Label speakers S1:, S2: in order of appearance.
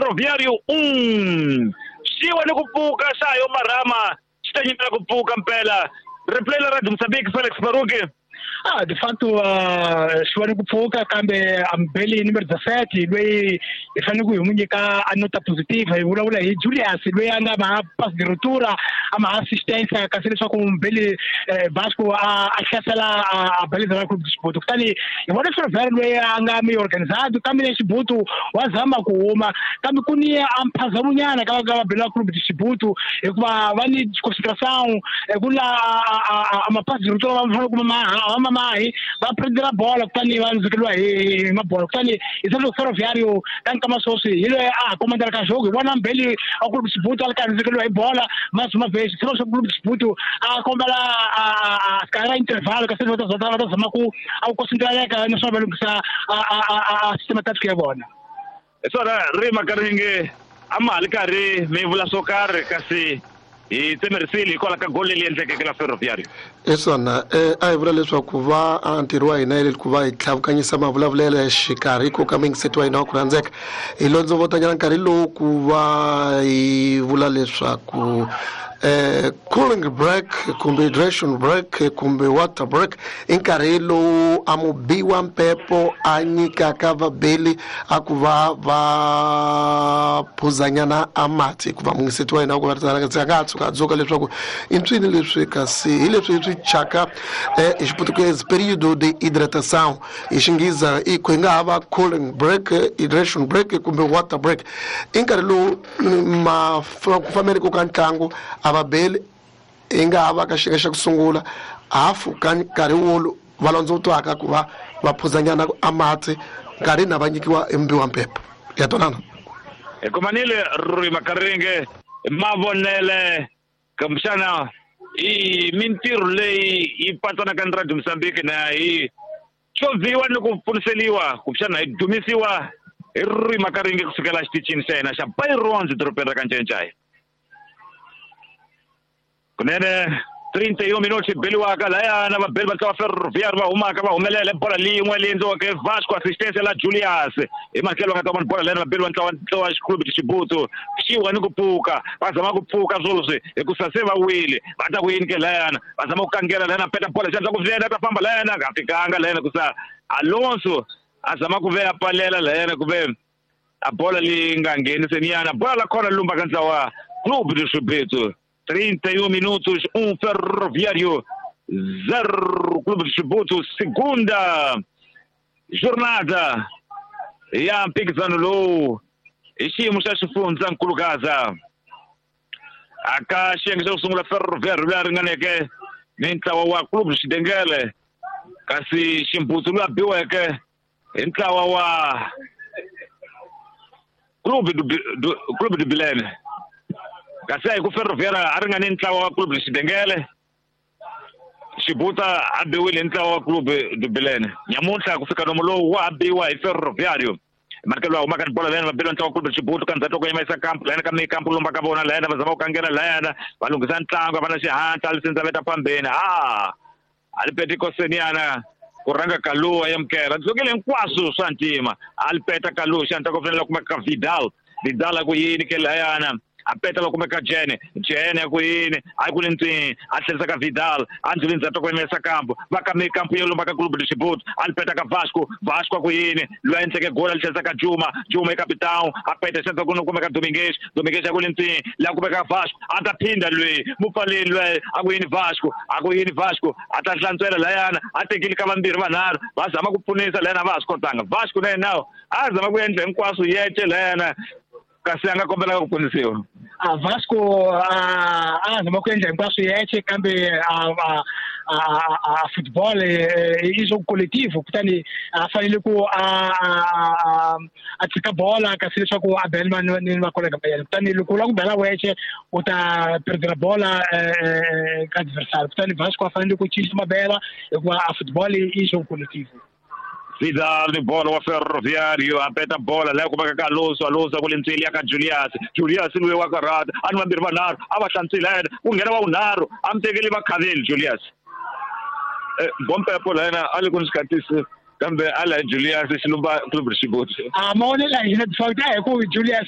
S1: Ferroviário 1. Xiwa ni ku pfuka xayo marhama xi ta nyimela ku pfuka mpela. Replay la Radio Mozambique Felix Baruki.
S2: De facto xiwa ni ku pfuka kambe ambeli numero 17 loyi hi fanele ku hi n'wi nyika a nota positive hi vulavula hi Julius loyi a nga ma pass de ruptura a ma assistance kasi leswaku mbeli Vasco a hlasela a baliza Clube de Chibuto kutani hi vona Ferroviário loyi a nga mi organizado kambe Chibuto wa zama ku huma kambe ku ni a mphazamonyana ka va bela Clube de Chibuto hikuva va ni concentration ku la a ma pass de ruptura va fanele ku ma mahi va prendera bola kutani va ndzukeliwa hi mabola kutani hi selo Ferroviário ka nkama sweswi hi loyi a ha komandela ka jogo hi vona mbeli a Clube de Chibuto a ri karhi ndzukeliwa hi bola mazuma vexi selo swa Clube de Chibuto a kombela a ra intervalo kasi va ta zama ku a ku concentreleka naswona va lunghisa a sistema tactic ya vona.
S1: Hi swona ri makaringe a ma ha li karhi mi vula swo karhi kasi hi tsemerisile hikwalaho ka goli leyi endlekeke la Ferroviário.
S3: Hi swona a hi vula leswaku va ntirho wa hina ku va hi tlhavukanyisa mavulavulelo ya xikarhi ko ka mingiseti wa hina wa ku rhandzeka hi londzovotanyana nkarhi lowu ku va hi vula leswaku cooling break kumbe hydration break kumbe water break i nkarhi lowu a mubiwa mpepo a nyikaka vabeli a ku va va phuzanyana a mati hikuva mungiseti wa hina wa ku rhandzeka a nga ha tshuka a dzuka leswaku i ntswini leswi kasi hi leswi hi swi chaka hi xiputukezi período de hidratação hi xingiza i ku nga ha va cooling break, hydration break kumbe water break i nkarhi lowu ku fambeni ka ntlangu a vabeli i nga ha va ka xiyenge xa ku sungula hafu ka nkarhi wolo va londzotwaka ku va va phuzanyana a mati nkarhi na va nyikiwa embiwa mpepo ya twanana.
S1: Hi kumanile ri makaringe mavonele kumbexana i mintirho leyi yi patsanaka ni Radio Mozambique na hi xovhiwa ni ku pfuniseliwa kumbexana hi dumisiwa hi ri makaringe kusukela xitichini xa hina xa Byronz dorobeni ra Kancencai. Kunene 31 minutos beliwaka layana vabeli va ntlawa Ferroviário va humaka va humelela bola leyin'we leyi endliweke Vasco assistance la Julius hi matlhelo va nga ta vona bola layana vabeli va ntlawa Clube de Chibuto xiwa ni ku pfuka va zama ku pfuka sweswi hikusa se va wile va ta ku yini ke layana va zama ku kangela layana peta bola xandla ku vuyela ta famba layana nga fikanga layana kusa Alonso a zama ku veya palela layana ku ve a bola leyi nga ngheni seniyana bola la khona lumba ka ntlawa Clube de Chibuto. 31 minutos, 1 Ferroviário, 0 Clube de Chibuto, segunda jornada ya mphikizano lowu hi xiyimo xa xifundza nkulukaza aka xiyenge xa ku sungula Ferroviário loyi a ringaneke ni ntlawa wa Clube de Xidengele kasi Ximbutsu loyi a biweke hi ntlawa wa Clube de Bilene kasi a hi ku Ferroviário a ringane ntlawa wa Clube de Xidengele Xibuta a biwile hi ntlawa wa Clube de Bilene nyamuntlha ku fika nomu lowu wa ha biwa hi Ferroviário markelo a humaka ni bola layana va beliwa ntlawa wa Clube de Chibuto ka ndzhaku loko yimayisa kampu layana ka mikampu lomba ka vona layana va zama ku kangela layana va lunghisa ntlangu va na xihatla lisindza veta phambeni a li peti koseniana ku rhanga Kalu a yamukela dzokile hinkwaswo swa ntima a li peta Kalu xandla ku fanele kumeka ka Vidal Vidal a ku yini ke layana a peta va kumeka Jene Jene a ku yini a ku lintsini a tlherisa ka Vidal a ndzi ndzhaku ku yimesa kampu va ka mikampu yo lomba ka Clube de Chibuto a li peta ka Vasco Vasco a ku yini loyi a endleke gola li tlherisa ka Juma Juma i capitão a peta xandla ku kumeka Domingues Domingues a ku lintsini la kumeka Vasco a ta phinda loyi mupfaleni loyi a ku yini Vasco a ku yini Vasco a ta hlantswela layana a tekile ka vambirhi vanharhu va zama ku pfunisa layana va ha swi kotanga Vasco na yena a zama ku endla hinkwaswo yece layana kasi a nga kombelaka ku pfunisiwa.
S2: A Vasco a zama ku endla hinkwaswo yexe kambe a football i jogo coletivo kutani a fanele ku a tshika bola kasi leswaku a bela ni vakolega va yena kutani loko u lava ku bela wexe u ta perdera bola ka adversário kutani Vasco a fanele ku cinca mabela hikuva a football i jogo coletivo.
S1: Vidal ni bola wa Ferroviário a peta bola leyi kumeka ka Alonso Alonso ku lentsweli ya ka Julius Julius loyi wa karata a ni vambirhi vanharhu a va hlantswile yena ku nghena wa vunharhu a mi tekeli vakhaveli Julius bompepo layena a le ku ni xikatisi kambe a la Julius xilumba Clube de Chibuto.
S2: A mavonelo ya hina hi ku Julius